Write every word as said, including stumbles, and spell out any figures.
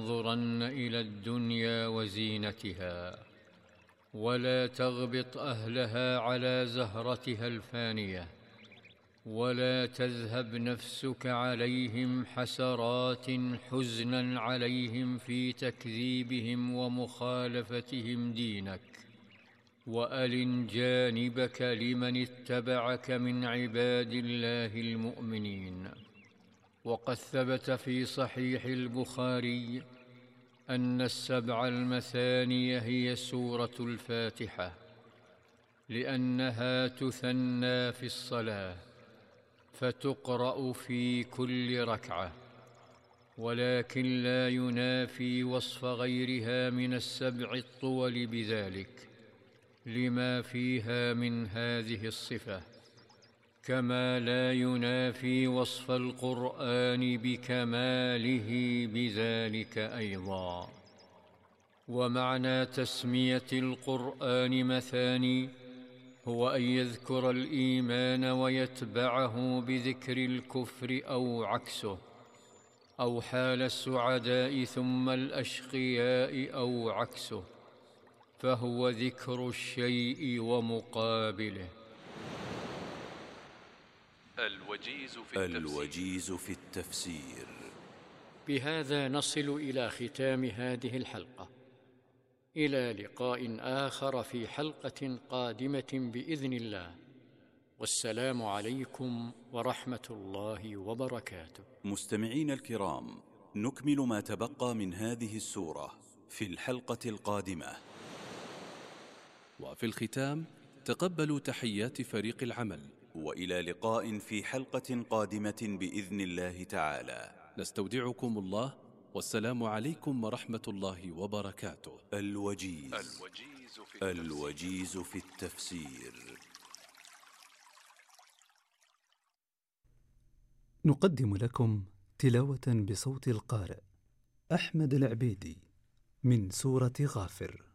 تنظرن إلى الدنيا وزينتها، ولا تغبط أهلها على زهرتها الفانية، ولا تذهب نفسك عليهم حسرات حزنا عليهم في تكذيبهم ومخالفتهم دينك، وألن جانبك لمن اتبعك من عباد الله المؤمنين. وقد ثبت في صحيح البخاري أن السبع المثاني هي سورة الفاتحة، لأنها تثنى في الصلاة فتقرأ في كل ركعة، ولكن لا ينافي وصف غيرها من السبع الطول بذلك لما فيها من هذه الصفة، كما لا ينافي وصف القرآن بكماله بذلك أيضا. ومعنى تسمية القرآن مثاني هو أن يذكر الإيمان ويتبعه بذكر الكفر أو عكسه، أو حال السعداء ثم الأشقياء أو عكسه، فهو ذكر الشيء ومقابله. الوجيز في التفسير, الوجيز في التفسير. بهذا نصل إلى ختام هذه الحلقة، إلى لقاء آخر في حلقة قادمة بإذن الله، والسلام عليكم ورحمة الله وبركاته. مستمعين الكرام، نكمل ما تبقى من هذه السورة في الحلقة القادمة. وفي الختام تقبلوا تحيات فريق العمل، وإلى لقاء في حلقة قادمة بإذن الله تعالى. نستودعكم الله، والسلام عليكم ورحمة الله وبركاته. الوجيز, الوجيز, في, التفسير. الوجيز في التفسير. نقدم لكم تلاوة بصوت القارئ أحمد العبيدي من سورة غافر.